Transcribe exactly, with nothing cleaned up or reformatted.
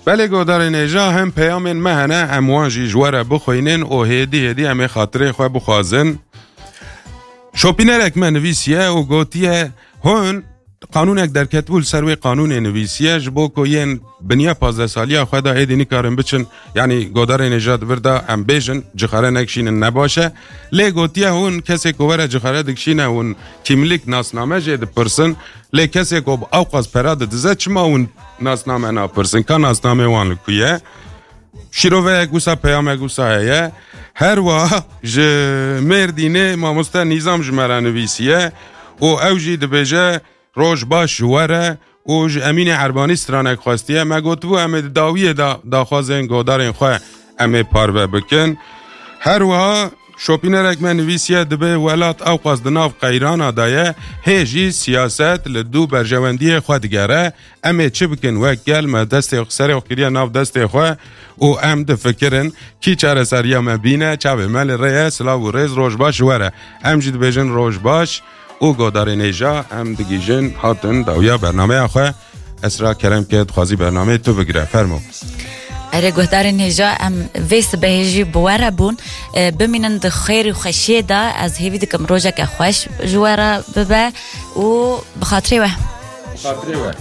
Belê godarên hêja, hem peyamên me hene, em wan jî ji we re bixwînin û hêdî hêdî em ê xatirê xwe bixwazin. Şopînerek me nivîsiye û gotiye, hûn qanûnek derketibû, li ser wê qanûnê nivîsiye, ji bo ku yên biniya pazdeh saliya xwe de êdî nikarin biçin, yanî godarên hêja di vir de em bêjin, cixare nekişînin ne baş e. Lê gotiye, hûn kesê ku were cixare dikişîne, hûn kîmlik, nasname jê dipirsin. Lê kesê ku bi ewqas pera didize, çima hûn nasname napirsin? Ka nasnamê wan li ku ye? Şîroveyek wisa, peyamek wisa heye. Her wiha ji Mêrdînê mamoste Nîzam ji me re nivîsiye û ew jî dibêje, roj baş ji we re, û ji Emînê Erbanî stranek xwestiye. Me gotibû, em ê di dawiyê de daxwazên godarên xwe em ê parve bikin. Her wiha şopînerek me nivîsiye, dibê welat ewqas di nav qeyrana de ye, hê jî siyaset li dû berjewendiyê xwe digere. Em ê çi bikin? Wek gel me destê serê xwe kiriye nav destê xwe û em difikirin, kî çareseriya me bîne, çavê me li rê ye. Silav û rêz, roj baş ji we re. Em jî dibêjin roj baş û godarên hêja, em digihîjin hatin dawiya bernameya xwe. Esra, kerem ke, dixwazî bernameyê tu bigire. Fermo. Erê, guhdarên hêja, em vê sibehê jî bi we re bûn. E, bimînin di xêr û xweşiyê de. Ez hêvî dikim rojeke xweş ji we re bibe û bi xatirê we. Xatirê we.